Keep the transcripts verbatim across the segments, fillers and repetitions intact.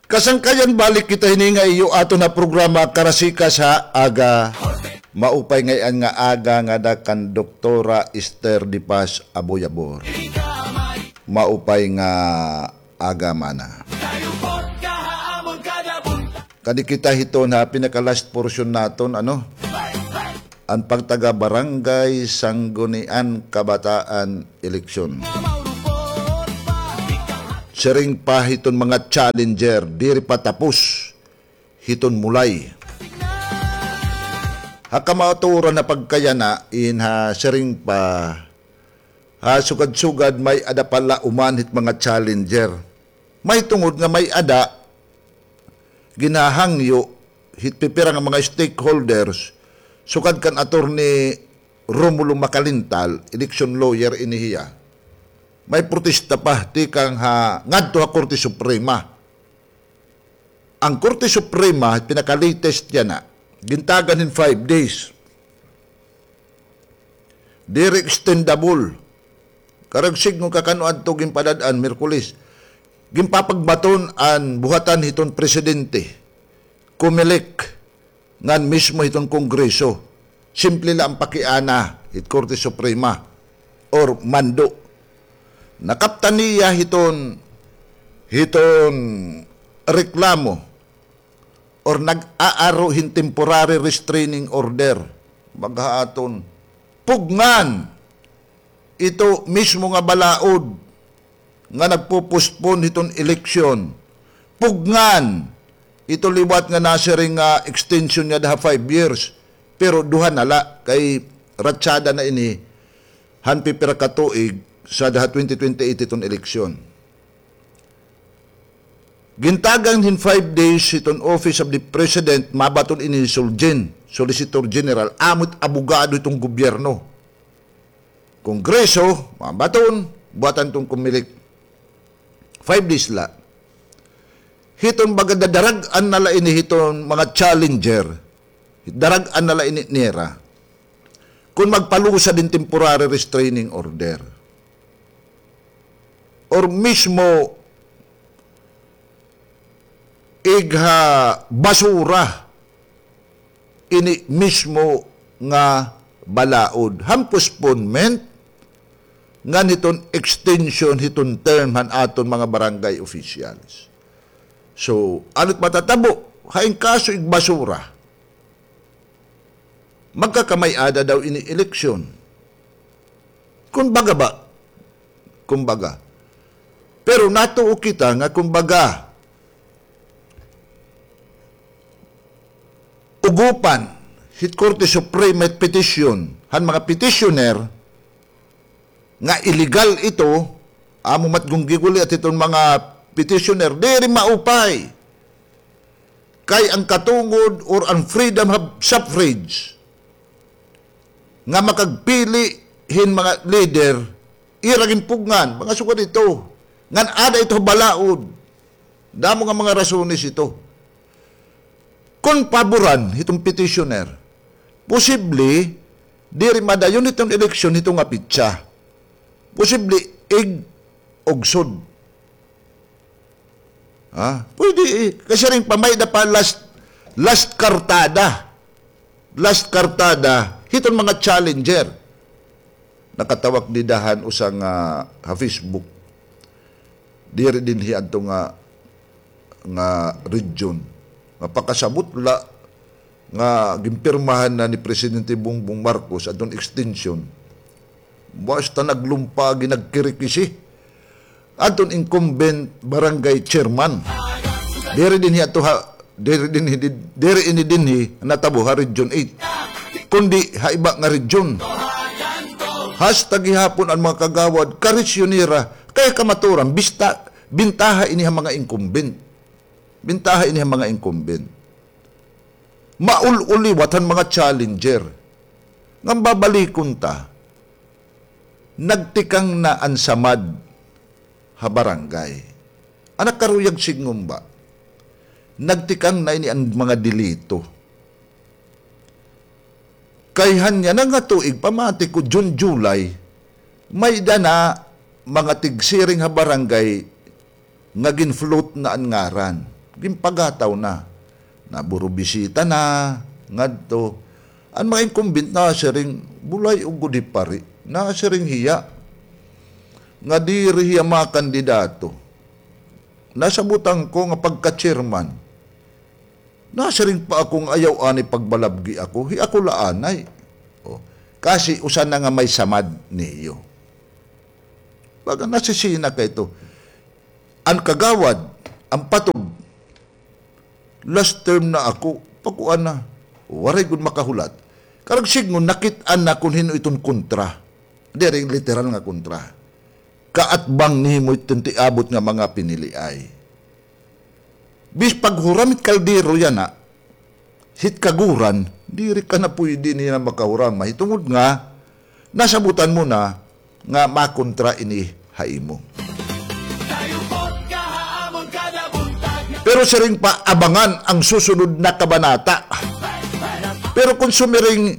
Kasangkayan, balik kita hini nga iyo aton nga programa, Karasikas ha Aga. Maupay ngay-an nga aga ngada kan Doktora Esther de Paz Aboyabor. Maupay nga aga mana. Kadi kita hiton ha pinaka-last portion naton, ano? An pagtaga-barangay Sanggunian Kabataan eleksyon. Siring pa hiton mga challenger, diri pa tapos hiton mulay. Ha kamatuoran nga pagkayana, in ha siring pa, ha sugad-sugad may-ada pa la uman hit mga challenger. Mahitungod nga may-ada ginhahangyo hit pipira nga mga stakeholders, sukad kan Attorney Romulo Macalintal, election lawyer ini hiya. May protesta pa tikang ha ngadto ha Korte Suprema. An Korte Suprema, pinaka-latest yana, gintagan hin five days. Diri extendable. Karuyag sidngon ka kan-o adto, ginpadad-an, Miyerkules. Ginpapagbaton an buhatan hiton presidente, Comelec, ngan mismo hiton Kongreso. Simple la an pakiana hit Korte Suprema or mando. Nakaptan niya hiton, hiton reklamo or nag-aaro hin temporary restraining order. Baga ha aton, pugngan ito mismo nga balaod nga nagpo-postpone hiton eleksyon. Pugngan ito liwat nga nasiring nga extension niya daha five years, pero duha na la, kay ratsada na ini han pipira ka tuig sa daha twenty twenty-eight hiton eleksyon. Gintagan hin five days hiton Office of the President, mabaton ini hi Sulgen, Solicitor General, amo it abogado hiton gobyerno. Kongreso, mabaton, buhatan hiton Comelec. Five days la. Hiton baga dadarag-an na la ini hiton mga challenger, darag-an na la ini nira kon magpalusad hin temporary restraining order or mismo igha basura ini mismo nga balaod han postponement ngan hiton extension hiton term han aton mga barangay officials. So, ano it matatabo? Hain kaso igbasura? Magkakamay-ada daw ini eleksyon. Kumbaga ba? Kumbaga. Pero natuo kita nga kumbaga, ugopan hit Korte Suprema it petisyon han mga petitioner nga illegal ito, amo matgon giguliat hiton mga petitioner, diri maupay. Kay an katungod or an freedom of suffrage nga makagpili hin mga leader, ira ginpugngan, mga sugad ito. Ngan ada ito ha balaod. Damo nga mga rasones ito. Kon paboran hiton petitioner, posible diri madayon hiton eleksyon hito nga petsa. Posible ig-ugsod. Ha? Pwede, eh. Kasiring pa, may-ada pa last, last kartada. Last kartada hiton mga challenger. Nakatawak dida han usa nga ha Facebook. Diri dinhi adto nga, nga region. Nga pakasabot la nga ginpirmahan na ni Presidente Bongbong Marcos adton extension. Basta naglumpa, ginagkirikisi adton incumbent barangay chairman. Diri dinhi ato ha, diri dinhi, diri ini dinhi natabo ha Region eight, kundi ha iba nga region. Hasta gihapon an mga kagawad, karisyo nira, kay kamatuoran, bista, bintaha ini ha mga incumbent. Bintaha ini ha mga incumbent. Maul-ul liwat han mga challenger. Ngan babalikon ta, nagtikang na an samad ha barangay. An ak karuyag sidngon ba, nagtikang na ini an mga delito. Kay han yana nga tuig, pamati ko, June, July, may-ada na mga tigsiring ha barangay nga gin-float na an ngaran. Ginpagataw na. Naburubisita na, ngadto. An mga incumbent nasiring, bulay ugod hi pari. Nasiring hiya. Nga diri hiya makandidato. Nasabutan ko nga pagka-chairman. Nasiring pa ako nga ayaw anay pagbalabgi ako. Hi ako la anay. O, kasi usa na nga may samad niyo. Baga nasisina kay ito. An kagawad, an patog, last term na ako, pakuan na, waray gud makahulat. Karag sidngon, nakit-an na kon hin-o iton kontra. Diri literal nga kontra. Kaatbang nimo iton tiabot nga mga piniliay. Bis paghuram hit kaldero yana, hit kaguran, diri ka na puydi niya makahuram. Mahitungod nga, nasabutan mo na nga makontra ini ha imo. Pero siring pa, abangan ang susunod na kabanata. Pero kung sumiring,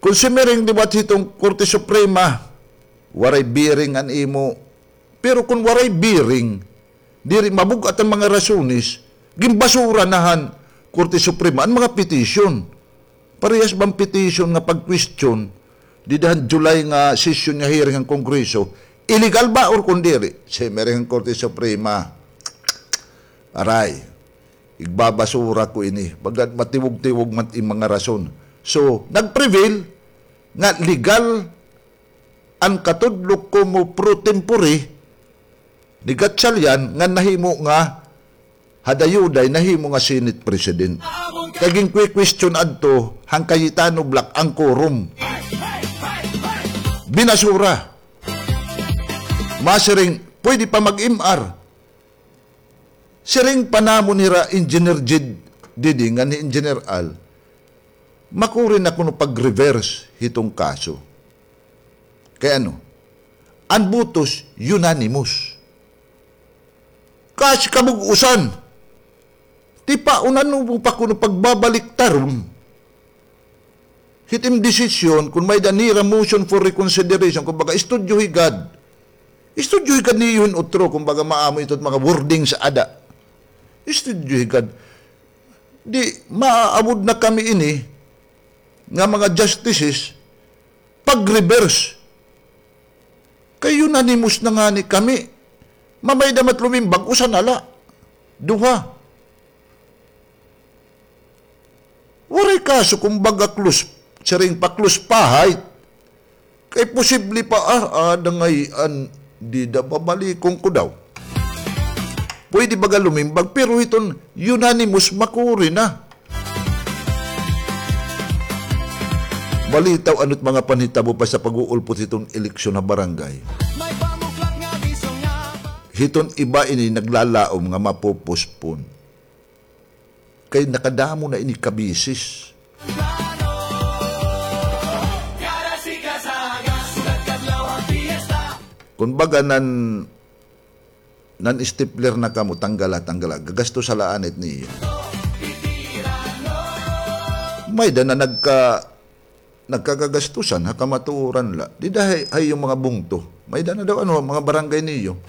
kung sumiring liwat hiton Korte Suprema, waray bearing an imo. Pero kung waray bearing, diri mabug-at an mga rasones, ginbasura na han Korte Suprema an mga petition. Parehas ba an petition nga pag-question dida han July nga session nga hearing han Kongreso, illegal ba or kon diri? Siring han Korte Suprema, aray, igbabasura ko ini. Baga matiwog-tiwog man it mga rason. So, nag-prevail nga legal an katudlo como pro tempore ni Gatchalian nga nahimo nga ha dayuday nahimo nga Senate President. Kay ginkwe-question adto han Cayetano bloc an quorum. Binasura. Masiring, pwede pa mag-M R. Siring pa namon hira Engineer Jed Didi ngan hi Engineer Al, makuri na kuno pag-reverse hiton kaso. Kay ano? An botos unanimous. Kasi kabug-usan. Tipaon, ano mo pa kuno pagbabaliktaron hit im desisyon, kon may-ada nira motion for reconsideration, kumbaga, istudyohi gad. Istudyohi gad niyo hin utro, kumbaga, maamo ito mga wordings ada. Istudyohi gad. Di, maaawod na kami ini, nga mga justices, pag-reverse. Kay unanimous na ngani kami. Mamay damat lumimbag, usa na la. Duha. Waray kaso kon baga close, siring pa close pahayt. Kay posible pa, ah, ah, dangay an dida babalikon ko daw. Pwede baga lumimbag, pero hiton unanimous makuri na. Balitaw, ano it mga panhitabo pa sa pag-uulpot hiton eleksyon ha barangay. Hiton iba ini naglalaom nga mapopospon. Kay nakadamo na ini kabisis. Kon baga nan, nan-stapler na kamo, tanggala, tanggala. Gagastusa la anay it niyo. May-ada na nagka-, nagkagagastusan ha kamatuoran la. Dida ha iyo mga bungto. May-ada na daw, ano, mga barangay niyo.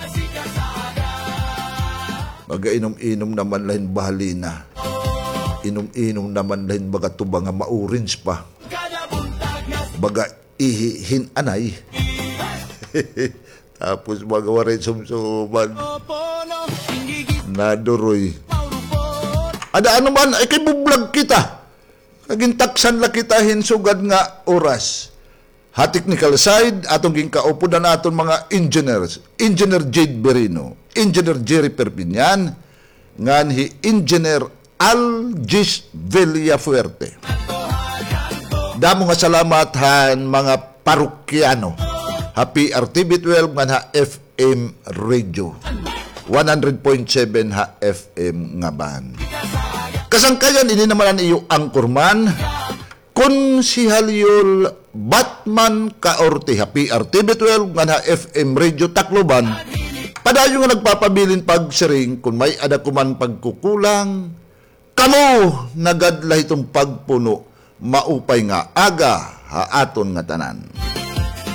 Baga inom-inom naman la hin bahalina. Inom-inom naman la hin baga tuba nga ma-orange pa. Baga ihi hin anay. Tapos baga waray sumsuman. Naduroy. Ada ano man, ay kay bublag kita. Kay gintaksan la kita hin sugad nga oras. Ha technical side, aton ginkaupodan aton mga engineers. Engineer Jade Berino, Engineer Jerry Perpignan, ngan hi Engineer Algis Villafuerte. Damo nga salamat han mga parokyano ha P R T V twelve ngan ha F M Radio. One hundred point seven ha F M nga band. Kasangkayan, ini naman an iyo anchorman, Konsehal Yul Batman Caorte ha P R T V twelve ngan ha F M Radio Tacloban. Padayon nga nagpapabilin pagsiring, kon may-ada ko man pagkukulang, kamo na gad la hiton pagpuno, maupay nga aga ha aton ngatanan.